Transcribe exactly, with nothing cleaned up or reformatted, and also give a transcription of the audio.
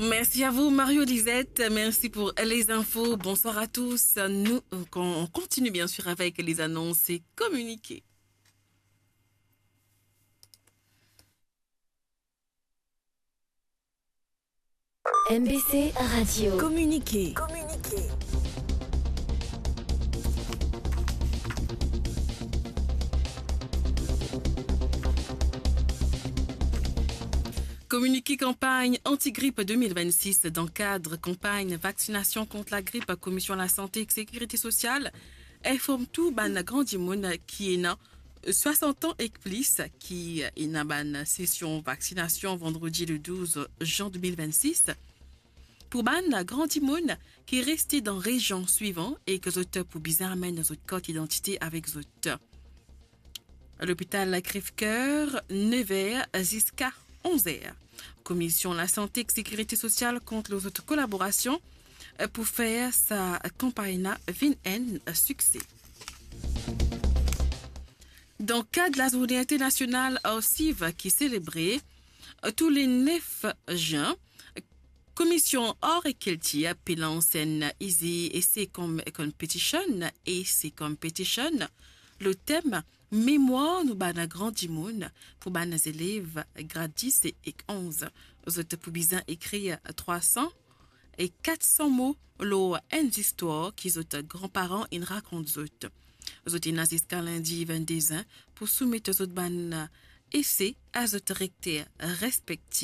Merci à vous, Mario Lisette. Merci pour les infos. Bonsoir à tous. Nous, on continue bien sûr avec les annonces et communiqués. M B C Radio. Communiqué. Communiqué campagne anti-grippe deux mille vingt-six dans cadre campagne vaccination contre la grippe, Commission la Santé et Sécurité Sociale inform tou bann gran dimoun ki ena swasant an ek plis, ki ena bann sesion vaksinasion vandredi le douz jan deux mille vingt-six. Pou bann gran dimoun ki reste dan rezion swivan e ki zot pou bizin amenn zot kart idantite avek zot. Lopital Crèvecoeur, nev er ziska onz er. Commission la Santé et Sécurité Sociale kont lor zot kolaborasion pou fer sa kanpagn la vinn enn sikse. Dan kad lazourne internasional ar siv ki selebre tou le nef zin, Commission Art et Culture pe lans enn Easy Essay Com-, Competition, Essay Competition, lor tem Memwar nou bann gran dimoun, pou bann zelev grad dis ek onz. Zot pou bizin ekrir trwa san e kat san mo lor enn zistwar ki zot granparan inn rakont zot. Zot ena ziska lindi vennde zin pou soumet zot bann ese a zot direkter respektif.